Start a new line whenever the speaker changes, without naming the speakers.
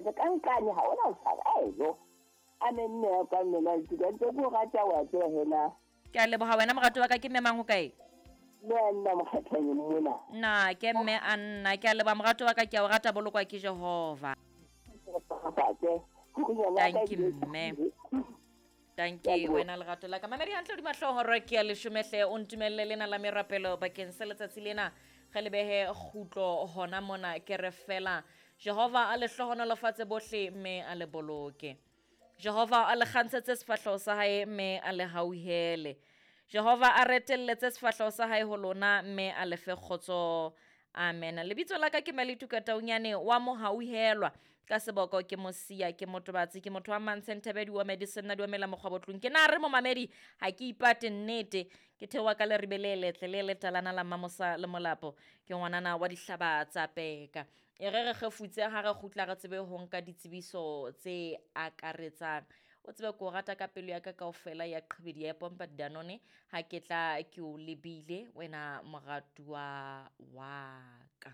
Ka nkane ha ona o tshaba aelo. Amen mme ya ka mme Maltuka ntse ke o rata wa tseba hena.
Ke a leboga wena morato wa ka ke mme mang ho kae?
Mme a nna mokgathanyeng mona.
Na ke mme a nna ke a leboga morato wa ka ke a o rata bolokwa ke Jehova. Thank you mme. Thank you wena lerato la ka. Mamedi hantle hodima hlooho re ke ya leshomehle o ntumelle lena la merapelo bakeng sa letsatsi lena ge le behe kgutlo hona mona ke re fela Jehova a le hlohonolofatse bohle mme a le boloke. Jehova a le kgantshetse sefahleho sa hae mme a le hauhele. Jehova a retelletse sefahleho sa hae ho lona mme a le fe kgotso. Amen. Lebitso la ka ke Malituka Taunyane wa mohauhelwa. Ka seboko ke mosia ke motobatsi ke motho wa mantsheng thebedi wa medicine na duamela mokgwa botlong. Ke na re momamedi ha ke ipate nnete. Ke theoha ka leribe le letle le letalana la Mmamosa le Molapo. Ke ngwanana wa dihlaba tsa peka. E re re kgefutse ha re kgutla re tsebe ho nka ditsebiso tse akaretsang. O tsebe ke o rata ka pelo ya ka kaofela ya qhibidi ya pompa Danone ha ke tla ke o lebile wena moratuwa wa ka.